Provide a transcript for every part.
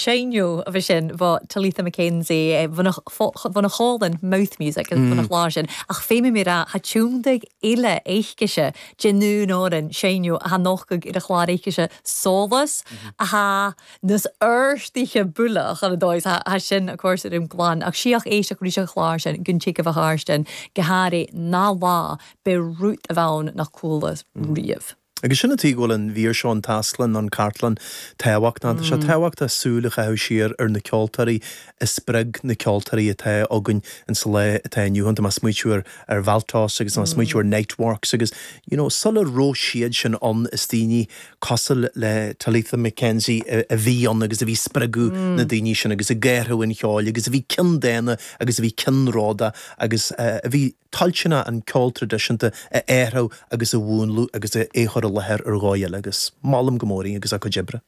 seinneadh a bhí sin bha Talitha Mackenzie bhun a chomhlann Mouth Music bhun a chlár sin ach féadfaidh mé rá tha tiúndaigh eile éiscise de nún orainn seinneadh a tha nochtadh ar a chlár éiscise Solas a tha nas oirstithe bualadh chun a dóigh tha sin of course ar an gclann ach síoch éisteach arís an chlár sin gun tig a bheith tharstin go háirithe ná lá b'é rút a bheann nach cualas riamh. Agus sin an tuige go bhfuil an mhír seo, an Tásclann, an Cartlann, tábhachtach. Tá sé tábhachtach súil a chaitheamh siar ar na ceoltóirí a spreag na ceoltóirí atá againn insa lá atá inniu ann. Tá mé ag smaoitiú ar ar Valtos agus tá mé ag smaoitiú ar Niteworks agus you know sula raibh siad sin ann is daoine cosúil le Talitha Mackenzie a bhí ann agus a bhí ag spreagadh na daoine sin agus ag athrú an cheoil agus a bhí ceanndána agus a bhí ceannródaíoch agus a bhí toilteanach an ceol traidisiúnta a athrú agus a mhúnlú agus é a chur i láthair ar dhóigh eile agus molaim go mór í agus a cuid oibre.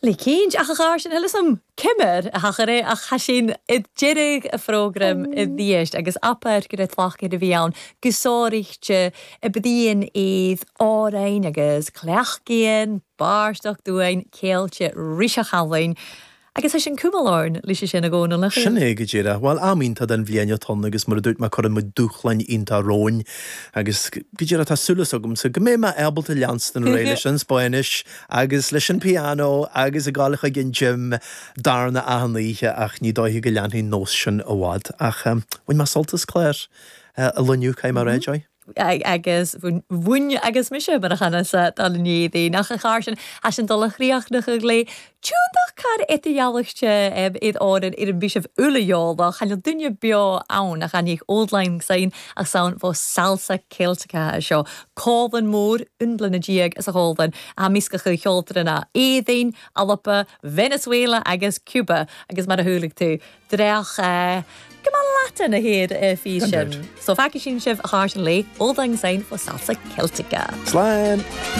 Le cinnt, ach a chár sin thuilleadh sam cimir a thachair é ach tha sinn i deireadh a phrógraim i dthiaist agus apair go raibh tlacair a bhí ann go sáraíchte i bpian iad árainn agus cleachtaíonn bárstoc dúinn céilte ríseach álainn Agus tá sin cuma lárn leis sin a Dhónaill, nach ea? Sin é go díreach. Bhuel, am iontach den bhliain atá ann agus mar a dúirt mé cuireann muid dúshláin iontach romhainn agus go díreach tá súil agamsa go mbeidh mé ábalta leanstan ar aghaidh leis an Spáinnis agus leis an piano agus ag dul chuig an gym darna achan oíche ach ní dóiche go leanfaidh an nós sin i bhfad. Ach bhain mé sult as clár an lae inniu, caithfidh mé a rá, Joy. agus bhain agus mise mar a chanasa dul in éadain ach a chár sin as an dul a chríochnachadh léi. Tiúndach car eite-dhealaichte iad árainn ar an bíseamh uile-eolach, chan fhuil duine beo ann a chan fhiach Auld Lang Syne ach san bhó salsa Ceilteacha seo. Comhlann mór, un bliana déag as a chomhlann, a meascadh cheoltóirí Éadain, Alba, Venezuela agus Cuba agus mar a chualaigh tú, Dreach go maith leat ina thaobh faoi sin. So feicfidh sinn sibh a chár sin léi, Auld Lang Syne fo salsa Celtica. Slán!